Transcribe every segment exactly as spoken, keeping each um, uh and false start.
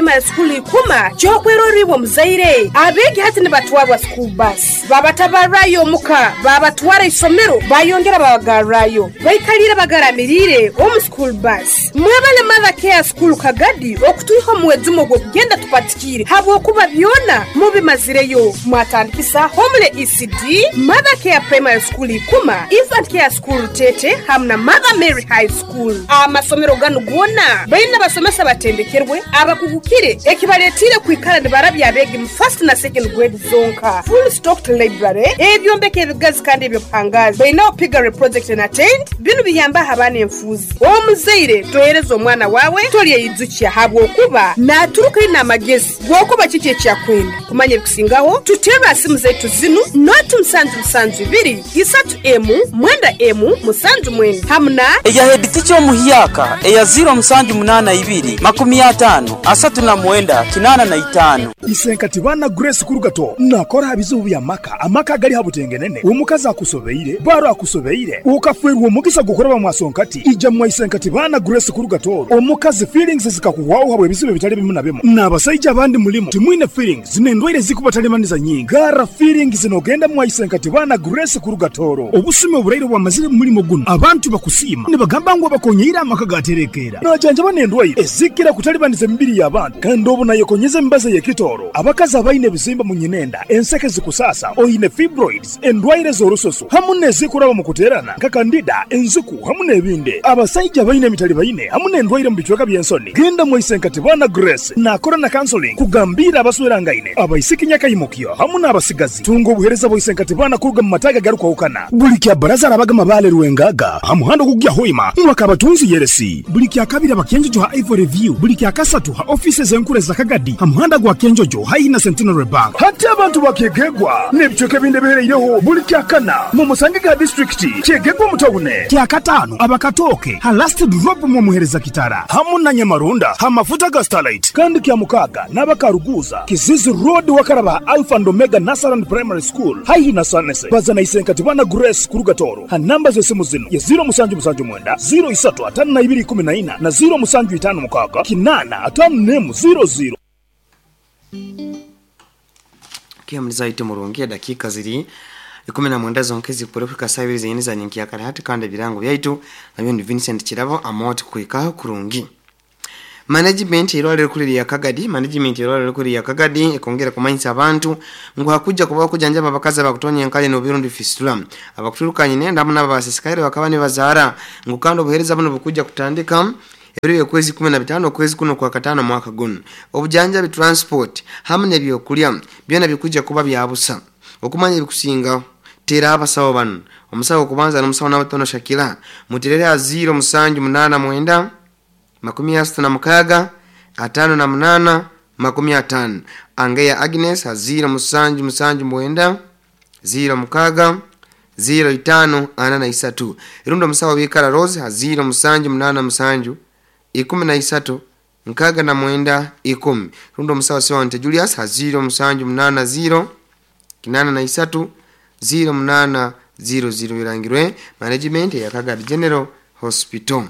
Primary School ikuma kyokweroribwa muzaire abeegi hati nibatwarwa school bus babatabarayo omuka babatwara isomero bayongera babagarrayo baikalire bagaramirire omu school bus. Mwebale Mother Care School Kagadi okutwiha omuwezumo gw'okugenda tupatikire habwokuba byona mubimazireyo. Mwatandikisa Homele E C D, Mother Care Primary School ikuma, Infant Care School Tete hamwe na Mother Mary High School. Amasomero ganu gona baina basomesa batendekerwe abakugukire ekibaletire kwikara nibarabya abegi mu first na second grade zonka. Full stocked library ebyombeko ebigazi kandi ebyobuhangazi baina opigare project and attend binu biyamba abaana enfuuzi. Omuzaire tohereza omwana wawe tolyeyidzukya habwokuba naturuka ina amagezi gwokuba kiki ekyakwenda kumanya ebikusingaho tutera simu zaitu zinu noti musanju musanju ibiri isatu emu mwenda emu musanju mwenda hamuna eya head teacher omuhyaka eya zero musanju munana ibiri makumi atano asatu na mwenda kinana na itano. Isenkati bana Grace Kurugato nakora bizibu bya maka amaka gali habutengenene omukazi akusobeire baro akusobeire ukafwerwa omugisa gukoraba mwasonkati ija mwa Isenkati bana Grace Kurugato omukazi feelings zikakuwaho habwe bizibu bitali bimu na bimu n'abasajja abandi mulimo timwine feelings zinendwaire zikubatalemaniza nyingi gara feelings zinogenda mwa Isenkati bana Grace Kurugatoro obusume oburaire bwamazire mulimo guno abantu bakusima nibagamba ngo bakonyeira amaka gaterekera najanja banendwaire ezikira kutalibaniza emibiri y'abantu kandi obu nayekonyeza embaza y'ekitoro abakazi abaine ebizimba mu nyinenda enseke zikusasa oyine fibroids endwaire z'orusoso hamu n'ezikuraba mu kuterana nka kandida enzuku hamu n'ebindi abasajja baine emitali baine hamu n'endwaire mu bicweka by'ensoni genda mu Isenkati bana Grace nakora na counseling kugambira abaswerangaine abaisiki nyakayimukyo hamu n'abasigazi tunga obuhereza bwa Isenkati bana kuruga mu mataga garukwahukana buli kya baraza arabaga mabale rwengaga hamuhando kugya hoima mwaka abatunzi yeresi buli kya kabiri abakenjojo ha Ivory View buli kya kasatu ha offices enkure za Kagadi hamuhanda gwa Kenjojo haina Centenary Bank hati abantu bakegegwa n'ebicweka ebindi bihereireho buli kya kana mu musange ga district kyegegwa mutawune kya katano abakatoke ha last drop mu muhereza kitara hamu na Nyamarunda ha mafuta ga Starlight kandi kya mukaga n'abakaruguza Kizizi Road wakaraba Alpha and Omega Nasaran Primary School haihi na Sanese bazana Isenkati bana Grace Kurugatoro ha namba z'esimu zino ya zero musanju musanju mwenda zero isatu atano na ibiri kumi na ina na zero musanju itano mukaga kinana atano nemu zero zero. Kia mliza murungi dakika ziri ikumi na mwenda zonkezi kuporofika saa ibiri zenyini za nyinki ya kare hati kandi birango byaitu nabyo ni Vincent Kirabo amoti kuikaho kurungi. Management irwaliro kuli ya Kagadi management irwaliro kuli ya Kagadi ekongera kumanyisa abantu ngo hakuja kuba kujanjaba abakazi abakutonya enkale no birundi fistula abakuturukanye nenda hamwe n'abasisikaire bakaba ne bazara ngo kandi obuhereza buno bukuja kutandika ebiro kwezi kumi na bitano kwezi kuno kwa katano mwaka guno obujanjabi transport hamwe n'ebyokulya byona bikuja kuba byabusa okumanya ebikusinga tera abasawo bano omusawo kubanza n'omusawo n'abatono Shakira muterere a zero musanju munana mwenda makumi asatu na mukaga atano na munana makumi atano Angeya Agnes a zero musanju musanju mwenda zero mukaga zero itano ana na isatu irundo musawo bikara Rose a zero musanju munana musanju ikumi na isatu nkaga na mwenda ikumi rundo musawo siwante Julius a zero musanju munana zero kinana na isatu zero munana zero zero birangirwe management ya Kagadi General Hospital.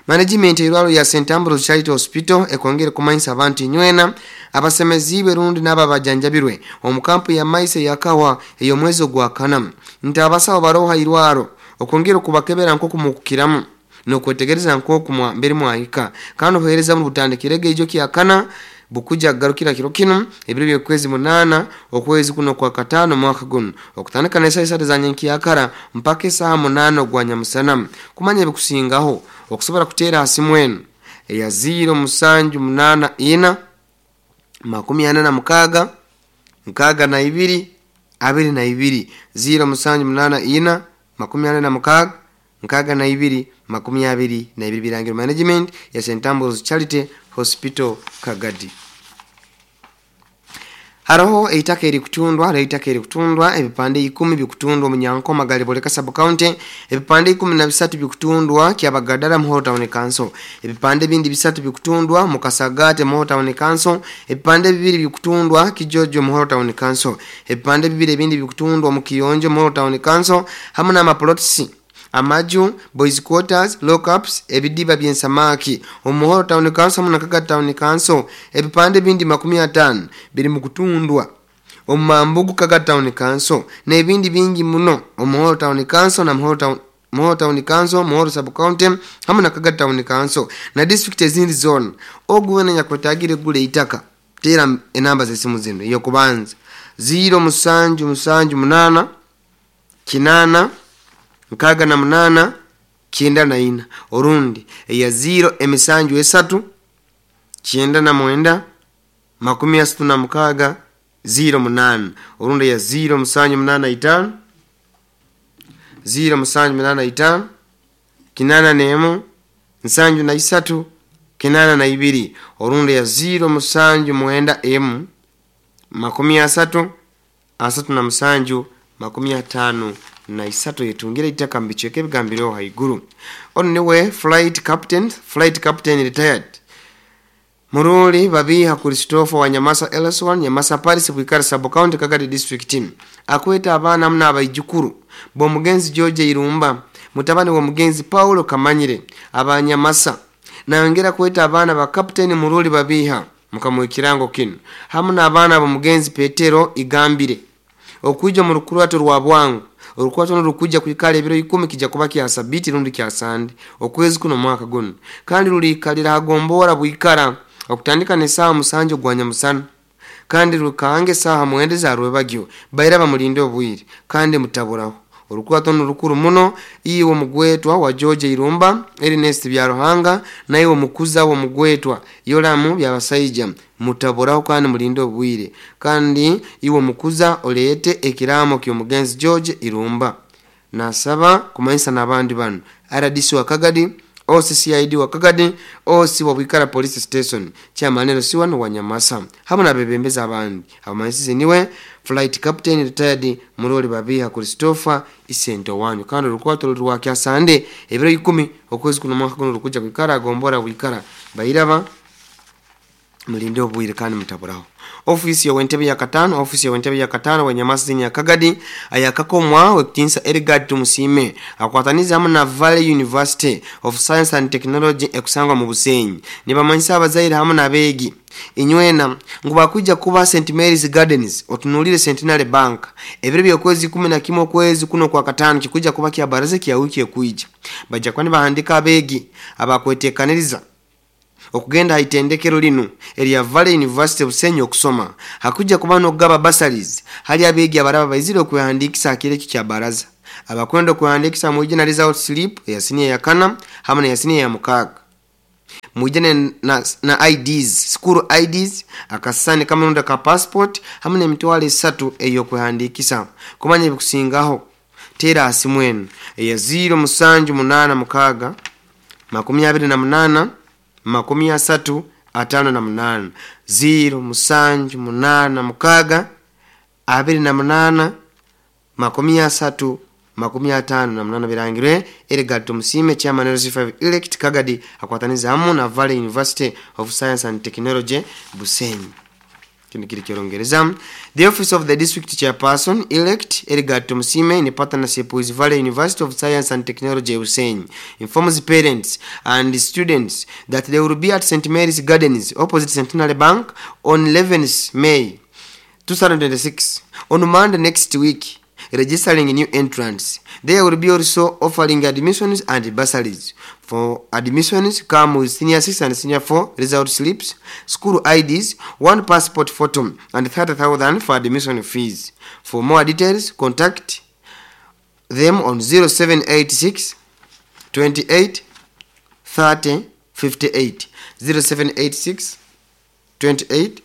Management irwalo ya Saint Ambrose Charity Hospital ekongere kumanyisa abantu inywena abasemeziibwe rundi n'ababajanjabirwe omukampu ya maise yakawa eyo mwezo gwa kana nti abasawo baroha irwaro okongera kubakebera nko kumukukiramu nokwetegereza nko kumwa mbere mwahika kandi obuhereza mu butandikirege ijo kyakana bukuja garukira kiro kino ebiro by'okwezi munana okwezi kuno kwa katano mwaka guno okutandika n'esaha isatu za nyenkiyakara mpaka esaha munana ogwa nyamusana kumanya ebikusingaho okusobola kuteera hasimu eno eya zero musanju munana ina makumi ana na mukaga nkaga na ibiri abiri na ibiri zero musanju munana ina makumi ana na mukaga nkaga na ibiri makumi abiri na ibiri birangiro management ya Saint Ambrose Charity Hospital Kagadi. Haroho eitaka eri kutundwa hariho eitaka eri kutundwa ebipande ikumi bikutundwa mu Nyankoma Galiboleka sub county ebipande ikumi na bisatu bikutundwa Kyabagadara Muhoro Town Council ebipande bindi bisatu bikutundwa mu Kasagate Muhoro Town Council ebipande bibiri bikutundwa Kijojo Muhoro Town Council ebipande bibiri ebindi bikutundwa mu Kiyonjo Muhoro Town Council hamwe n'amaplots amaju, boys quarters, lockups, ebidiba by'ensamaki omuhoro town council na Kagadi town council. Ebipande bindi makumi atano biri mu kutundwa omumambugu Kagadi town council n'ebindi bingi muno omuhoro town council na muhoro town Muhoro town council, Muhoro sub county hamwe na Kagadi town council na district ezindi zona. Ogu wena nyakwetagire gule itaka, tera enamba z'esimu zino: iyo kubanza ziro musanju musanju munana kinana nkaga na munana kyenda na ina, orundi eya ziro emisanju esatu kyenda na mwenda makumi asatu na mukaga ziro munana, orundi eya ziro musanju munana itano ziro musanju munana itano kinana nemu nsanju na isatu kinana na ibiri, orundi ya ziro musanju mwenda emu makumi asatu asatu na musanju makumi atano na isatu. Yetungira itaka mbicheke ebigambiro haiguru. Ono niwe flight captain flight captain retired Muruli Babiha Christopher wa Nyamasa L S one Nyamasa Paris Bwikara sub county Kagadi district akweta abaana muna abaijukuru b'omugenzi George Irumba, mutabani wa mugenzi Paulo Kamanyire abanyamasa. Nayongera kweta abaana ba Captain Muruli Babiha mukamu ekirango kino hamu n'abaana b'omugenzi Petero Igambire okwija mu rukurato rwa bwangu. Orukwato nurukujja kwikala ebiro ikumi, kijja kuba kya sabiti rundi kya sande okwezi kuno mwaka guno, kandi ruliikalira hagombora bwikara okutandika n'esaaha musanju gwa nyamusana kandi rukange esaaha mwenda za rwebagyo. Baira bamulinde obwire kandi mutaburaho. Orukwato nurukuru muno. Iwe omugwetwa wa George Irumba Ernest Byaruhanga, naiwe omukuza w'omugwetwa Yoramu Byabasaija, mutaburaho kandi mulinde obwire. Kandi iwe omukuza oleete ekiraamo ky'omugenzi George Irumba. Nasaba kumanyisa n'abandi bano: R D C wa Kagadi, O C C I D wa Kagadi, O C wa Bwikara police station, chairman L C one wa Nyamasa hamwe n'abebembezi abandi. Abamanyisize niwe flight captain retired Muroli Babiha Christopher Isento wanyu. Kandi orukwato rwa kyasande ebiro ikumi okwezi kuno mwaka guno rukuja kwikara agombora bwikara. Bairaba mulinde obwire kandi mutaburaho. Ofisi ya wentebe ya katano ofisi ya wentebe ya katano wa Nyamasa ya Kagadi ayakakomwa wekitinsa Edgard Tumusime akwataniza hamwe na Valley University of Science and Technology ekusangwa mu Busenyi nibamanyisa abazaire hamwe n'abeegi inywena ngu bakwijja kuba Saint Mary's Gardens otunulire Centenary Bank ebiro by'okwezi kumi na kimwe okwezi kuno kwa katano, kikujja kuba kya baraza kya wiki ekwija. Bajja kuba nibahandika abeegi abakwetekaniriza okugenda haitendekero lino erya Valley University Busenyi okusoma. Hakujja kuba n'okugaba bursaries hali abeegi abaraba baizire okwehandikisa hakiro ekyo kya baraza. Abakwenda okwehandikisa mwije na result slip eya siniya ya kana hamwe neya siniya ya mukaaga, mwije na, na, na I Ds, school I Ds, akasani kamurundi ka passport hamwe n'emitwalo esatu ey'okwehandikisa. Kumanya ebikusingaho teera asimu enu eya ziro musanju munaana mukaaga makumi abiri na munaana makumi asatu atano na munaana, ziro musanju munaana mukaaga abiri na munaana makumi asatu makumi atano na munana. Birangirwe Edgard Tumusime, chairman L C five elect Kagadi, akwataniza hamu na Valley University of Science and Technology Busenyi. Kino kiri kyolongereza: The office of the district chairperson elect Edgard Tumusime in partnership with Valley University of Science and Technology Busenyi informs parents and students that they will be at Saint Mary's Gardens opposite Centenary Bank on eleventh May twenty twenty-six, on Monday next week, registering new entrants. They will be also offering admissions and bursaries. For admissions, come with senior six and senior four result slips, school I Ds, one passport photo, and thirty thousand for admission fees. For more details, contact them on zero seven eight six twenty-eight thirty fifty-eight, zero seven eight six twenty-eight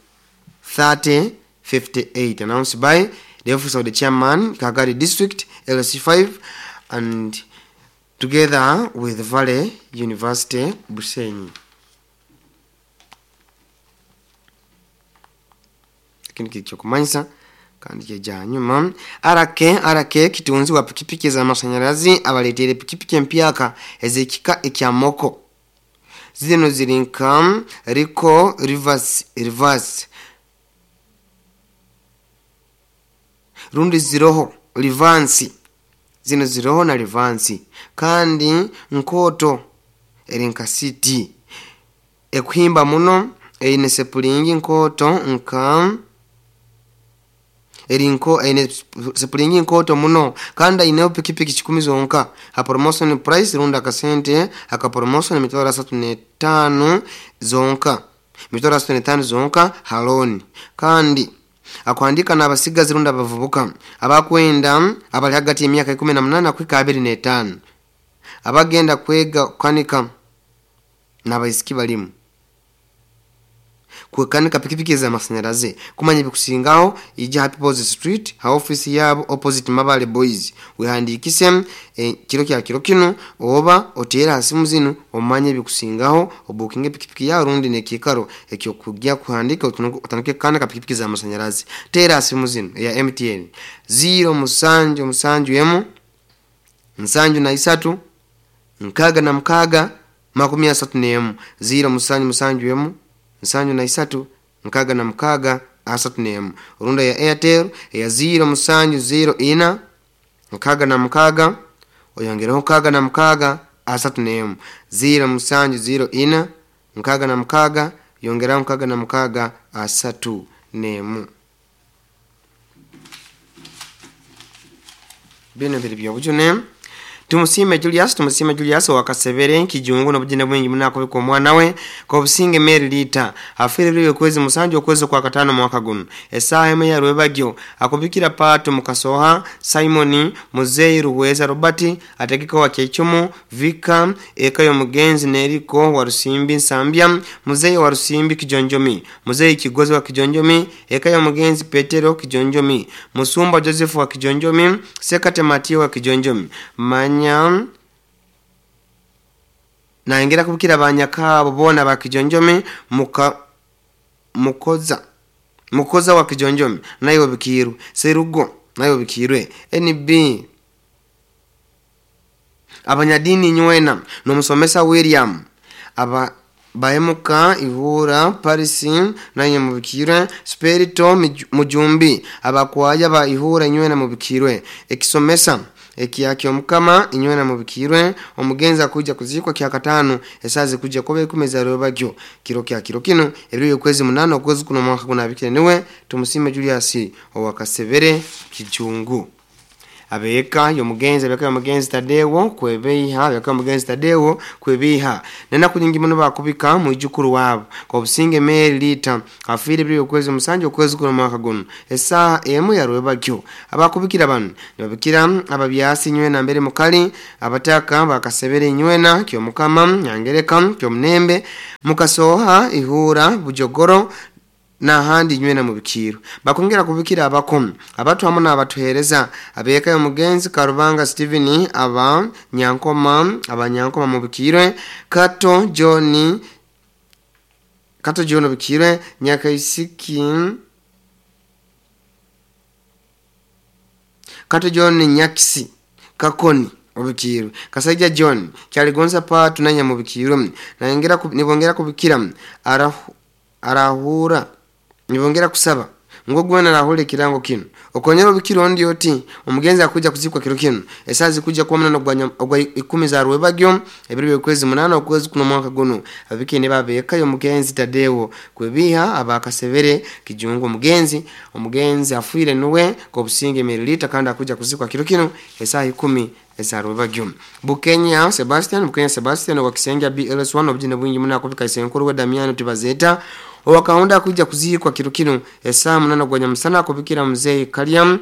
thirty fifty-eight. Announced by the office of the chairman, Kagadi District, L C five, and together with Valley University Busenyi. Kino kiri kyokumanyisa kandi kyeja hanyuma. R K R K kitunzi wa pikipiki z'amashanyarazi abaleetere pikipiki empyaka ez'ekika ekya moko. Zino ziri nka Rico reverse reverse rundi ziroho Livansi. Zino ziroho na livansi kandi nkoto eri nka city ekuhimba muno eine sepulingi nkoto nka erinko eine sepulingi nkoto muno kandi aineho pikipiki kikumi zonka ha promotion price runda akasente aka promotion emitwaro asatu n'etaano zonka emitwaro asatu n'etaano zonka haloni kandi akuhandika n'abasigazi runda abavubuka abakwenda abali hagati y'emyaka ikumi na munana kuhika abiri n'etaano abagenda kwega kukanika n'abaisiki balimu kukanika pikipiki za masanyalaze. Kumanya bikusingaho ija Happy People's Street ha office yabo opposite Mabale Boys wehandikise e, kiro kya kiro kino oba otera hasimu zino omanye bikusingaho obukinge pikipiki ya rundi nekikaro ekyo kujya kuhandika utanuke kanika pikipiki za masanyalaze. Tera hasimu zino ya M T N zero musanju musanju emu nsanju na isatu nkaga na mkaga makumi asatu n'emu zero musanju musanju emu nsanju na isatu nkaga na mkaga asatu n'emu. Runda ya Airtel ya zero musanju zero ina nkaga na mkaga oyongereho nkaga na mkaga asatu n'emu zero musanju zero ina nkaga na mkaga yongeraho nkaga na mkaga asatu n'emu. Bino biri byobujune. Tumusime Julius, tumusime Julius wakasebere kijungu n'obujine bwingi munako omwana we kobusinge Mary Lita afire byo kwezi musanju okwezi kwa katano mwaka guno esaha eme ya rwebagyo akubikira pato mukasoha Simon Muzeyi Ruweza Robert ategeka wa Kyechumu Vika ekayo mugenzi Neriko wa Rusimbi Nsambya Muzeyi wa Rusimbi Kijonjomi Muzeyi Kigozi wa Kijonjomi ekayo mugenzi Petero Kijonjomi Musumba Joseph wa Kijonjomi Sekate Matio wa Kijonjomi Manya naengera kubikira banyakabo bona ba Kijonjomi muka mukoza mukoza wa Kijonjomi nayo bikiru Serugo nayo bikirwe N B abanyadini nywena nomusomesa William aba bahemuka Ihura Paris naye mubikirwe Spirito Mujumbi abakwaya ba Ihura nywena mubikirwe ekisomesa ekiyaki omukama inywena mubikirwe omugenza kuja kuzikwa kya katano esazi kuja kobe kumeza robagyo kiro kya kiro kino ebiro kwezi munano okwezi kuno mwaka kunabikire niwe tumusime Julius owakasebere kijungu abeka yomugenzi abeka yomugenzi Tadewo kwebeiha abeka yomugenzi Tadewo kwebiha nena kunyingi muno bakubika mwijukuru wabo kwa businge Mary Lita afire byo kwezi musanju okwezi kuno mwaka guno esaha emu ya rwebagyo abakubikira bano nibabikira ababyasi nywena mbere mukali abataka bakasebere nywena kyo mukama nyangereka kyo mnembe mukasoha Ihura Bujogoro na handi nywena mubikiro bakongera kubikira abakomi abatu hamwe n'abatuhereza abeka yomugenzi Karubanga Steven aba Nyankoma abanyankoma mubikirwe Kato John Kato John bikirwe Nyakaisiki Kato John Nyakisi Kakoni obikirwe Kasaija John Kyaligonza patu nanya mubikirwe naengera nibongera kubikira arahu arahura nibongera kusaba ngo gwena rahule kirango kino okonyera obikiro ndi oti omugenzi akuja kuzikwa kiro kino esazi kuja kuwa munano ogwa ikumi za rwebagyo ebiro byokwezi munano okwezi kuno mwaka guno abikene babeka yo mugenzi Tadewo kwebiha abakasebere kijungu omugenzi omugenzi afuire nuwe kobusinge mililita kandi akuja kuzikwa kiro kino esaha ikumi eza rwebagyo. Bukenya Sebastian Bukenya Sebastian wa Kisenga B L S one obujine bwingi munako bika isenkuru we Damiano Tibazeta owakaunda kuja kuzikwa kiro kino esaa munana gwanya musana kubikira mzee Kaliam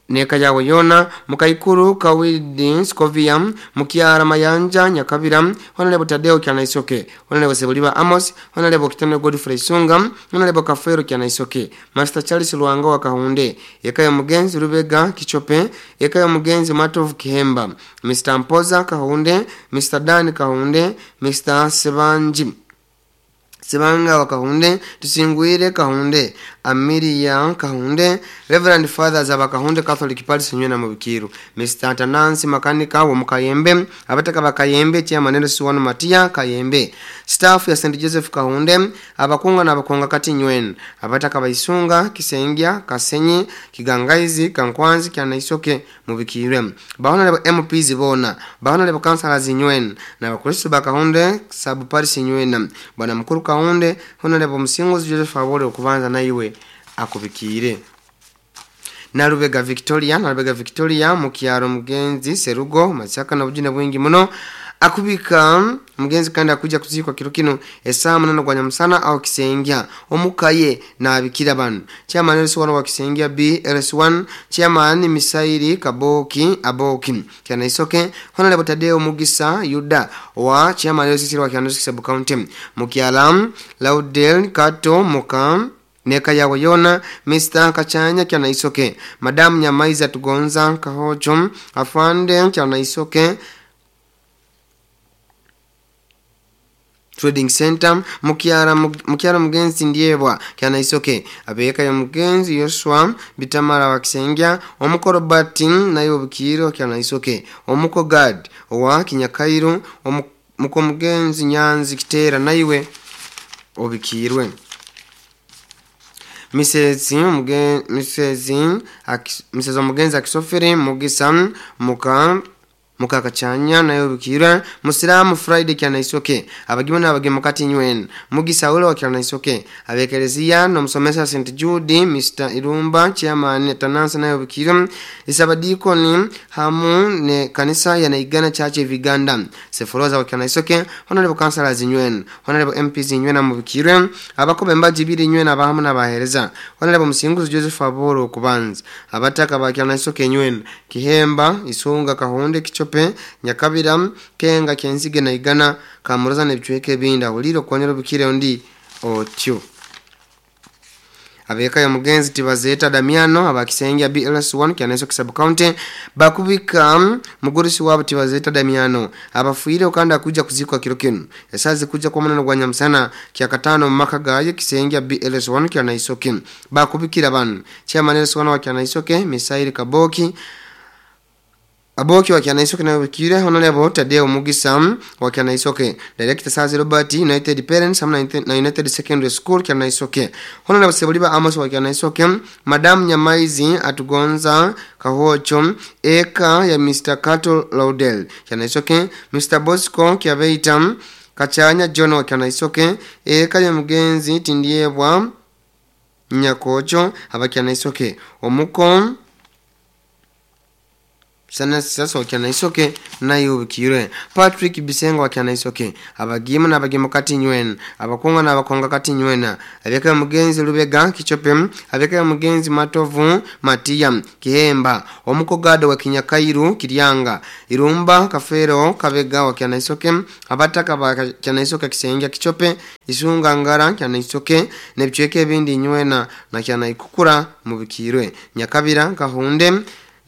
neka yawe yona mukaikuru Kawidi Skovia mukiara Mayanja Nyakabira Honorable Tadeo Kyanaisoke Honorable Sebuliba Amos Honorable Kitano Godfrey Sunga Honorable Kafero Kyanaisoke Master Charles Luanga wa Kahunde ekayo mugenzi Rubega Kichope ekayo mugenzi Matov Kihemba Mister Mpoza Kahunde Mister Dan Kahunde Mister Sebanji Sebanga wa Kahunde Tusingwire Kahunde Amiria Kahunde Reverend Fathers abakahunde Catholic Parish nywena mubikiru Mister Tanansi Makanika wa Mukayembe abataka bakayembe chairman L C one Matia Kayembe staff ya Saint Joseph Kahunde abakunga na abakunga kati nywena abataka baisunga Kisengya Kasenyi Kigangaizi Kankwanzi Kyanaisoke mubikirwe bahona lebo M Ps bona bahona lebo councillors nywena na bakristo bakahunde sub parish nywena bwana mukuru Kahunde honorable Musinguzi Joseph Abole okubanza naiwe akubikire. Nalubega Victoria Nalubega Victoria mukyaro mugenzi Serugo Masaka na bujina bwingi muno akubika mugenzi kandi akuja kuzikwa kiro kino esaa munana gwa nyamusana au Kisengya omukaye na abikira banu chairman L C one wa Kisengya B L C one chairman Misairi Kaboki Aboki Kyanaisoke honorable Tadeo Mugisa Yuda wa chairman L C wa Kyanaisoke sub county Mukyala Laudel Kato Mukam neka yawe yona Mister Kachanya Kyanaisoke Madam Nyamaiza Tugonza Kahocho Afande Kyanaisoke Trading Center Mukyara Mukyara mugenzi Ndiebwa Kyanaisoke abeka ya mugenzi Yoshua Bitamara wa Kisengya omuko Robert nayo bukiro Kyanaisoke omuko Gad wa Kinyakairu omuko mugenzi Nyanzi Kitera naiwe obikirwe. Misezi mugenzi Misezi Misezi mugenzi akisofere Mugisa muka mukakachanya nayo bikira Musilamu Friday Kyanaisoke abagimo n'abagimo kati nywen Mugisa ulo wa Kyanaisoke abekelezia no musomesa Saint Jude Mister Irumba chairman Tanansa nayo bikira isabadikoni hamu ne kanisa ya Naigana Church of Uganda Seforoza wa Kyanaisoke honorable councillors nywen honorable M Ps nywen amubikire abakobe mbaji biri nywen abahamu n'abahereza honorable Musinguzi Joseph Aboro kubanza abataka ba Kyanaisoke nywen Kihemba Isunga Kahunde Kicho Nyakabira Kenga Kenzige na Igana Kamuroza nebicweke binda huliro kwanyero bikire ondi otyo. Abeka ya mugenzi Tibazeta Damiano abakisengya B L S one Kyanaisoke sub county bakubika mugurisi wabo Tibazeta Damiano abafuire okanda kuja kuzikwa kiro kino esazi kuja kwa munano gwa nyamusana kyakatano maka gaye Kisengya B L S one Kyanaisoke bakubikira banu chairman L S one wa Kyanaisoke Misairi Kaboki Aboki wa Kyanaisoke na wikire honorable Tadeo Mugisa wa Kyanaisoke Director Sazi Robert United Parents na United Secondary School Kyanaisoke honorable Sebuliba Amos wa Kyanaisoke Madam Nyamaizi Atugonza Kahocho eka ya Mister Kato Laudel Kyanaisoke Mister Bosco Kyabeita Kachanya John wa Kyanaisoke eka ya mugenzi Tindiebwa Nyakocho aba Kyanaisoke omuko sana sasa wa Kyanaisoke nayo bikire Patrick Bisengo wa Kyanaisoke abagima n'abagimo kati nywen abakunga n'abakonga kati nywena abeka mugenzi Lubega Kichope abeka mugenzi Matovu Matia Kihemba omuko Gado wa Kinyakairu Kiryanga Irumba Kafero Kabega wa Kyanaisoke abataka ba Kyanaisoke Kisengya Kichope Isunga Ngara Kyanaisoke nebicweke bindi nywena na Kyanaikukura mubikirwe Nyakabira Kahunde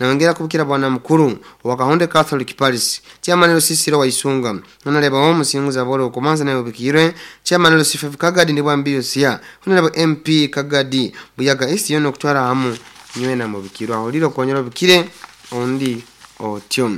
naongera kubikira bwana mukuru wa Kahunde Catholic Parish chairman Lusisiro wa Isunga honorable Musinguza Bolo kumanza nayo bikirwe chairman Lusife Kagadi ndi bwambiyo sia honorable M P Kagadi Buyaga East yono kutwara hamu nywena mubikirwa holiro konyero bikire ondi otyo.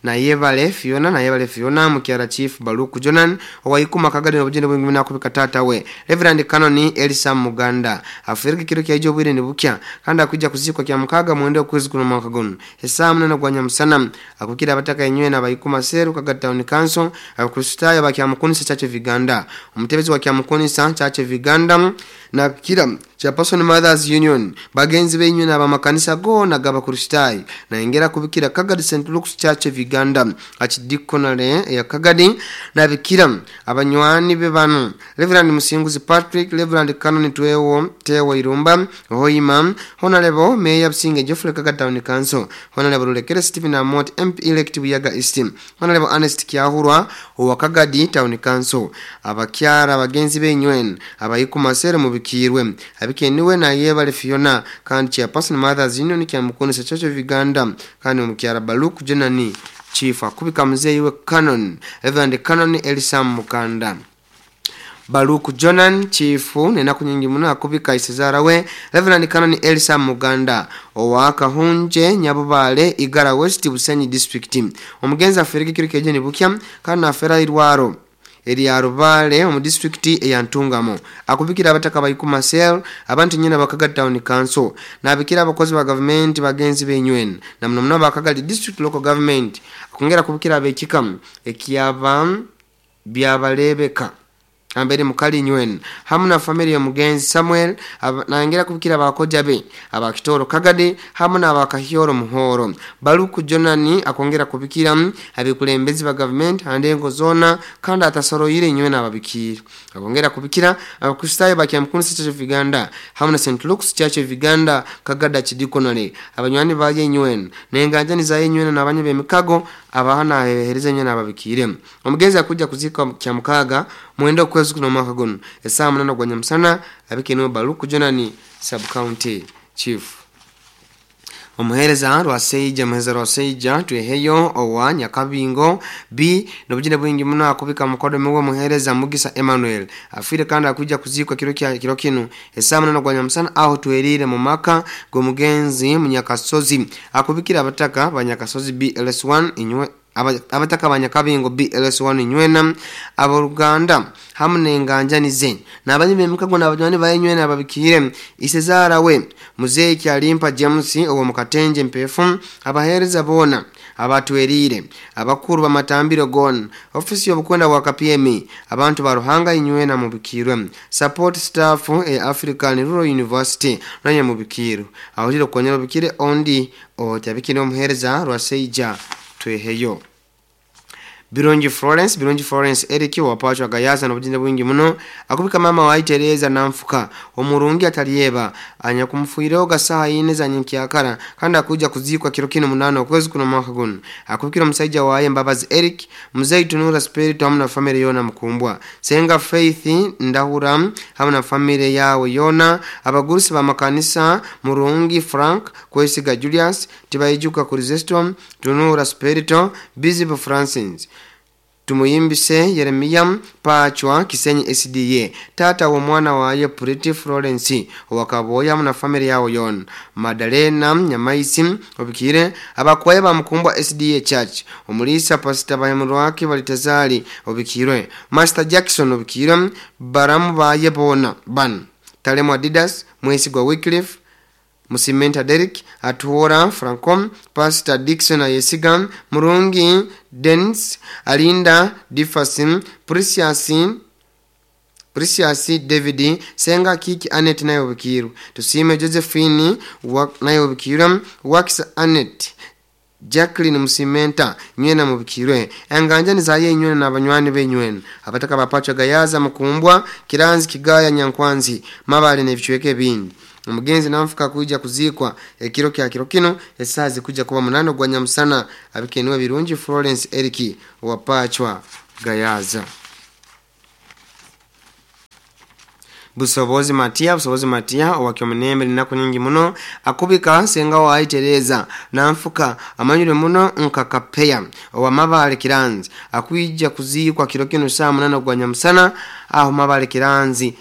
Na yebale Fiona na yebale Fiona mukyara Chief Baluku Jonan owaikuma Kagadi n'obujende bwingi nakubika tata we Reverend Canon Elisa Muganda afirika kiro kya ijo bwire nibukya kandi akuja kuzikwa kya mukaga mwende okwezi kuno mwaka gono esaa munana gwa nyamusana akukira abataka enywe na bayikuma seru Kagadi Town Council abakristayo bakya mukunisa Church of Uganda omutebezi wa kya mukunisa Church of Uganda na kira Chairperson Mothers Union bagenzi benywe na bamakanisa gona gabakristayo na engera kubikira Kagadi Saint Luke's Church of Uganda achidikonale ya Kagadi na bikira abanywani be bano Reverend Musinguzi Patrick Reverend Canon Twewo Tewo Irumba Hoima Honorable Mayor Businge Geoffrey Kagadi Town Council Honorable Lulekere Stephen Amot M P elect Buyaga East Honorable Ernest Kyahurwa wa Kagadi Town Council abakyara abagenzi benywen abayikuma sere mubikirwe abikeniwe na yebale Fiona kandi Chairperson Mothers Union kya mukonesa Church of Uganda kandi mukyara Baluku Jenani Chief akubika mzeyi we Canon Reverend Canon Elisa Mukanda. Baluku Jonan chifu nenaku nyingi muno akubika isezarawe Reverend Canon Elsa Muganda owa Kahunje Nyabubale Igara West Busenyi District. Omugenzi afereke kiro keje nibukya kandi afera irwaro eri Rubale omu district eya Ntungamo. Akubikira abataka bayikuma sel abantu nyina bakaga town council nabikira abakozi ba government bagenzi benywen na muno muno bakaga district local government. Akongera kubikira abekikamu ekiyaba byabalebeka ambere mukali nywen hamu na familia ya mugenzi Samuel. Naongera kubikira abakoja be abakitoro Kagade hamu na abakahioro Muhoro. Baluku Jonani akongera kubikira abikulembezi ba government andengo zona kandi atasoroire nywen ababikira. Akongera kubikira abakristayo bakyamkunsi Church of Uganda hamu na Saint Luke's Church of Uganda Kagada Chidikonale abanywani baje nywen nenganjani za nywen nabanye bemikago abahana hehereza nywen ababikire. Omugenzi akuja kuzika kyamukaga mwendo kwezi kuno mwaka guno esaa munana gwa nyamusana abikeno Baluku Jonani sub county chief. Omuhereza Rwaseija muhereza Rwaseija tweheyo owa Nyakabingo B nobujine bwingi muno akubika mukodo mwe muhereza Mugisa Emmanuel afire kandi akuja kuzikwa kiro kya kiro kinu esaa munana gwa nyamusana aho twerire mu maka go mugenzi Munyakasozi. Akubikira abataka banyakasozi B L S one inywe abataka banyakabingo B L S one nywena aboluganda hamu nenganjani ze nabanyi bemikago nabajwani bayenywena ababikire isezara we muzeyi Kyalimpa James owo mukatenje mpefu abahereza bona abatwerire abakuru bamatambiro gon ofisi y'obukwenda bwa K P M abantu baruhanga inywena mubikirwe support staff e African Rural University nanye mubikiro ahuriro konyera bikire ondi otabikire omuhereza Rwaseija tweheyo. Birungi Florence Birungi Florence Eric wapachwa Gayaza nobujinde bwingi muno akubika mama wa Teresa namfuka omurungi atalieba anyakumfuireho gasaha ine za nyikyakara kandi akuja kuzikwa kiro kino munano okwezi kuno mwaka guno. Akubikira omusajja waye Mbabazi Eric Mzee Tunura Spirit hamwe na family yona mukumbwa Senga Faith Ndahura hamwe na family yawe yona abagurusi ba makanisa Murungi Frank Kwesiga Julius Tibaijuka Kurizestom Tunura Spirit Bizibu Francis Tumuyimbise Yeremia Pachwa Kisenyi S D A tata wa mwana waye Pretty Florence wakaboya na family yao yon Madalena Nyamaisi obikire abakwaye bamukumbwa S D A Church omulisa Pastor Bahemurwaki balitazali obikirwe Master Jackson obikire baramu baye bona ban Talemo Adidas Mwesigwa Wycliffe Musimenta Derek Atuora Francom Pastor Dixon Ayesiga Murungi Dens Alinda Diffasim Precious Precious David Senga Kiki Anet nayo bikiru Tusime Josephine nayo bikiru Wax Anet Jacqueline Musimenta nywena mubikirwe enganjani zaye nywena nabanywani benywena abataka bapacho Gayaza mukumbwa Kiranzi Kigaya Nyankwanzi mabale nebichweke bindi. Omugenzi namfuka kuja kuzikwa ekiro kya kiro kino esazi kuja kuba munano gwa nyamusana abikenwe Birungi Florence Eric wapachwa Gayaza. Busobozi Matia Busobozi Matia owakyomunembe linako nyingi muno akubika senga wa Teresa namfuka amanyure muno nkakapeya owa Mabale Kiranzi akuija kuzikwa kiro kino saa munano gwa nyamusana aho Mabale Kiranzi.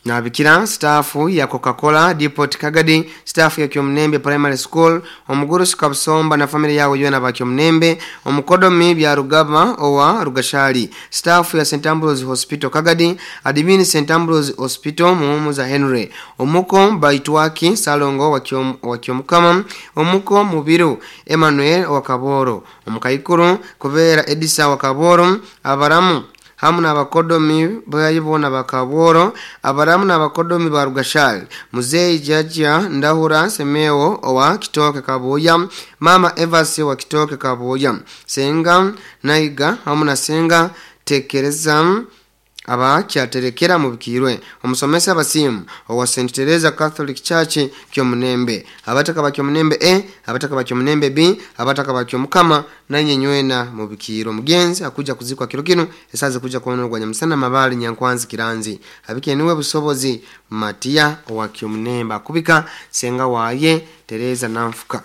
Nabikira stafu ya Coca-Cola Depot Kagadi stafu ya Kyomnembe Primary School omugurusi Kabusomba na family yawe yona ba Kyomnembe omukodomi bya Rugaba owa Rugashali stafu ya Saint Ambrose Hospital Kagadi admin Saint Ambrose Hospital Muhumuza Henry omuko Baitwaki Salongo wa Kyom wa Kyomukama omuko Mubiru Emmanuel wa Kaboro omukaikuru Kubera Edisa wa Kaboro abaramu hamu n'abakodomi bayibona bakaboro abaramu n'abakodomi ba Rugashali Muzeyi Jaja Ndahura Semeo owa Kitoke Kabuya Mama Evasi wa Kitoke Kabuya Senga Naiga hamu na Senga Tekereza aba kyaterekera mubikirwe omusomesa basimu owa Saint Teresa Catholic Church Kyomunembe abataka ba Kyomunembe A abataka ba Kyomunembe B abataka ba Kyomukama nanye nywena mubikiro. Mugenzi akuja kuzikwa kiro kino esaze kuja kuona gwa nyamusana Mabali Nyankwanzi Kiranzi abike niwe Busobozi Matia owa Kyomunembe akubika senga waye Teresa Namfuka.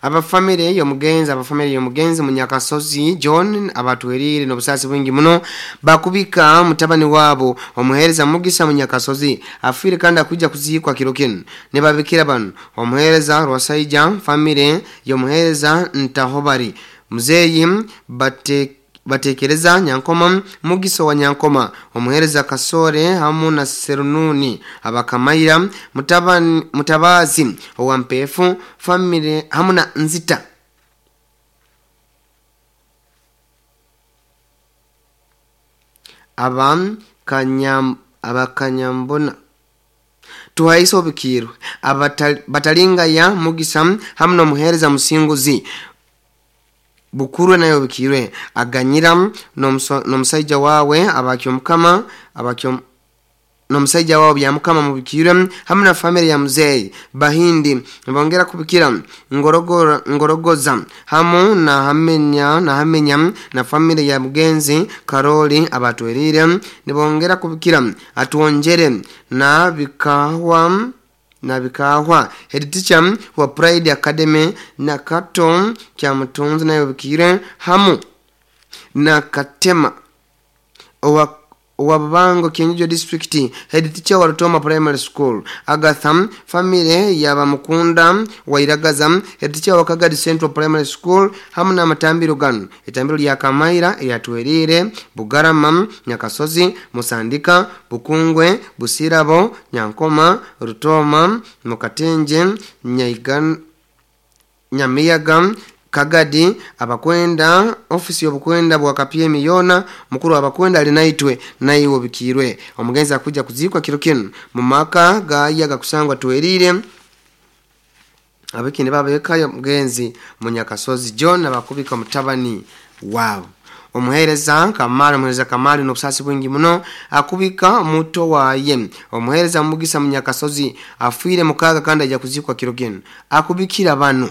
Abafamire y'omugenzi abafamire y'omugenzi Munyakasozi John abatwerire n'obusasi bwingi muno bakubika mutabani wabo omuhereza Mugisa Munyakasozi afire kandi akuja kuziikwa kiro kinu. Nibabikira bano omuhereza Rwasaija famire y'omuhereza Ntahobari Muzeyi bate batekereza Nyankoma Mugiso wa Nyankoma omuhereza Kasore hamu na Serununi abakamaira mutabani mutabazi owa Mpefu family hamu na Nzita. Abam kanyam abakanyambona tuhaiso bikirwe abatalinga ya Mugisa hamu na muhereza Musinguzi Bukurwe nayo bikirwe aganyira n'omusaija wawe abakyo mukama abakyo n'omusaija wawe bya mukama mubikirwe hamwe na family ya muzei Bahindi bongera kubikira ngorogora ngorogoza hamu na hamenya na hamenya na family ya mugenzi Karoli abatwerire nibongera kubikira atuonjere na bikahwa na bikahwa head teacher wa Pride Academy na Kato kya mutunzi nayo bikire hamu na Katema owa Wabango Kienyeji District head teacher wa Rutoma Primary School Agatham family ya Bamukunda Wairagaza head teacher wa Kagadi Central Primary School hamu na matambiro gano etambiro lya Kamaira yatwerire Bugarama Nyakasozi Musandika Bukungwe Busirabo Nyankoma Rutoma Mukatenje Nyaigan Nyamiyaga Kagadi abakwenda ofisi y'obukwenda bwa K P M yona mukuru abakwenda alinaitwe naiwo bikirwe. Omugenzi akuja kuzikwa kiro kinu mu maka gayaga kusangwa twerire abekindi babekayo mugenzi Munyakasozi John abakubika mutabani wabo omuhereza Kamali. Omuhereza Kamali n'obusasi bwingi muno akubika muto waye omuhereza Mugisa Munyakasozi afiire mukaga kandi ajja kuzikwa kiro kinu. Akubikira bano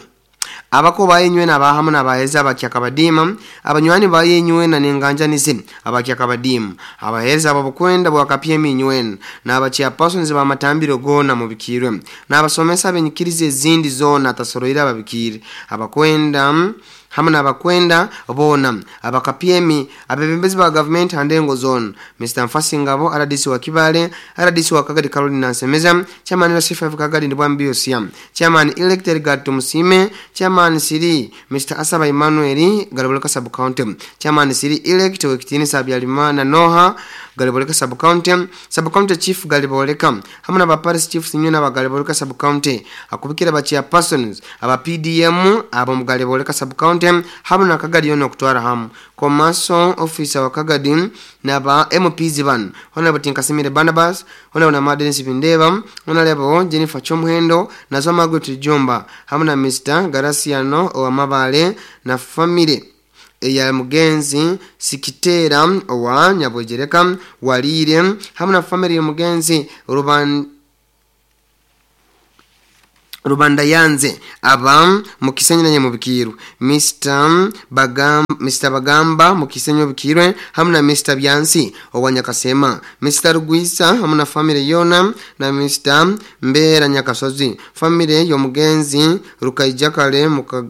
abako bayenywe nabahamu nabaheza abakyakabadima abanywani bayenywe na nenganjanize abakyakabadimu abahereza ababukwenda bwakapye eminywe n'abachairpersons bamatambiro gona mubikirwe n'abasomesa benyikirize ezindi zona tasoroira ababikire abakwenda hamwe n'abakwenda bona abakapyemi abebembezi ba government handengo zone Mister Mfasingabo R D C wa Kibale, R D C wa Kagadi Caroline Nansemeza, chairman wa C five Kagadi Ndibwambi Yosia, chairman elected Gatu Musime, chairman Siri Mister Asaba Emmanuel Galiboleka sub county, chairman Siri elect Wekitini Sabyalimana Noha Galiboleka sub county, sub county chief Galiboleka hamwe n'aba parish chiefs nyuna ba Galiboleka sub county. Akubikira ba chairpersons aba P D M abo mu Galiboleka sub county hamwe na Kagadi yono okutwara hamu komaso officer wa Kagadi n'aba M Ps bano Honorable Tinkasimire Barnabas, Honorable Madden Bindeba, Honorable Jennifer Chomuhendo nazo Margaret Jomba hamwe na Mister Garasiano Owamabale na family eya mugenzi Sikitera owa Nyabwegereka Walire hamwe na family ya mugenzi Ruban Rubanda yanze aba mukisenyi na nyamubikiru Mister Bagamba, Mister Bagamba mukisenyi obikirwe hamwe na Mister Byansi owa Nyakasema, Mister Rugwisa hamwe na family yona na Mister Mbera Nyakasozi family y'omugenzi Rukaijakale muka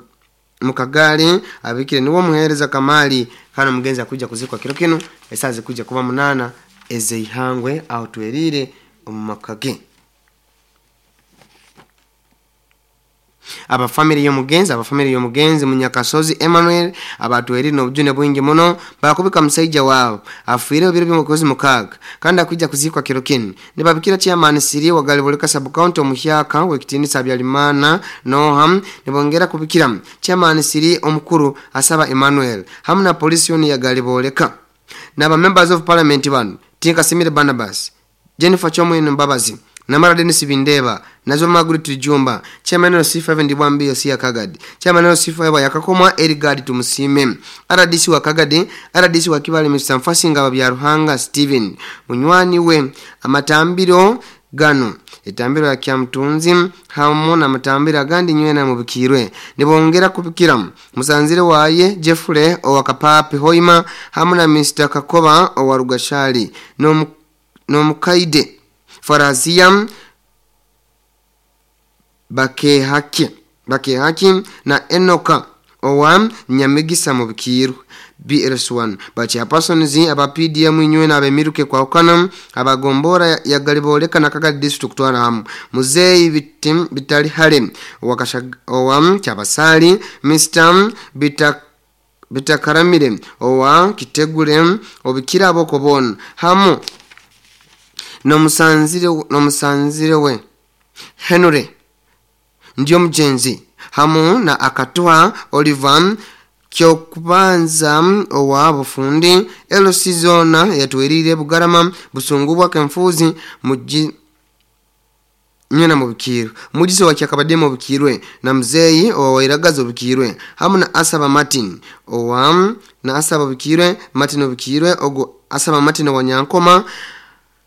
mukagale abikire niwo muhereza Kamali kana mugenzi akuja kuzikwa kiro kino esazi kuja kuba munana ezeihangwe aho twerire omumakage. Abafamily y'omugenzi abafamily y'omugenzi Munyakasozi Emmanuel abatweri n'obujune bwingi muno bakubika musaija wabo afiire ebiro by'omukozi mukaaga kandi akwijja kuzikwa kiro kinu. Nibabikira chairman Siri wa Galiboleka sub county omuhyaka w'ekitiinisa Habyarimana Noha. Nibongera kubikira chairman Siri omukuru Asaba Emmanuel hamwe na polisi yoni ya Galiboleka n'aba members of parliament bano Tinkasimire Barnabas, Jennifer Chomwino Mbabazi, Namara Dennis Bindeba nazo Margaret Jumba, chairman wa C five Ndibwambi Yosia Kagadi, chairman wa C five yakakomwa Erigad Tumusime, R D C wa Kagadi, R D C wa Kibale Mister Mfasinga bya Ruhanga Steven munywani we. Amatambiro gano etambiro ya Kyamtunzi hamu na matambiro agandi nywena mubikirwe. Nibongera kubikira musanzire waye Jeffrey owa Kapapi Hoima hamu na Mister Kakoba owa Rugashali no nomukaide Farazia Bakehake. Bakehaki na Enoka owa Nyamigisa mu Bikiru B L S one bachairpersons aba P D M inywe na abemiruke kwa ukana abagombora ya Galiboleka na Kagadi district kutwara hamu Muzeyi Bitim, Bitali Hale owa Kyabasali Mister Bita Bitakaramire owa Kitegule obikira aboko bona hamu nomusanzire nomusanzire we Henry ndio mjenzi hamu na akatoa Oliver Kyokubanza owa bufundi L C zona yatwerire Bugarama Busungu bwa Kenfuzi muji nyena mubikirwe mujiso wa Kyakabade mubikirwe na mzeyi owa Wairagazo bikirwe hamu na Asaba Martin owa na Asaba bikirwe Martin bikirwe ogo Asaba Martin wa Nyankoma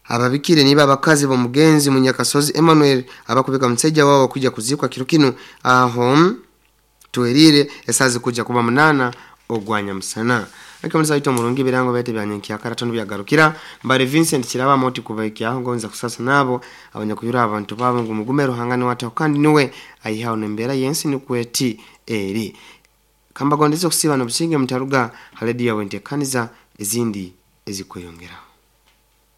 ababikire niba abakazi bo mugenzi Munyakasozi Emmanuel abakubika mseja wao kuja kuzikwa kiro kino aho tuwerire esazi kuja kuba munana ogwanya musana akamaliza ito murungi birango bete byanyenki akarato byagarukira mbare Vincent Kiraba moti kubaiki aho ngonza kusasa nabo abanyakuyura abantu babo ngo mugume ruhangane wataho kandi niwe ayihawo nembera yensi nikweti eri kamba gondezo kusiba no businge mutaruga haledi ya wente kaniza ezindi ezikweyongera.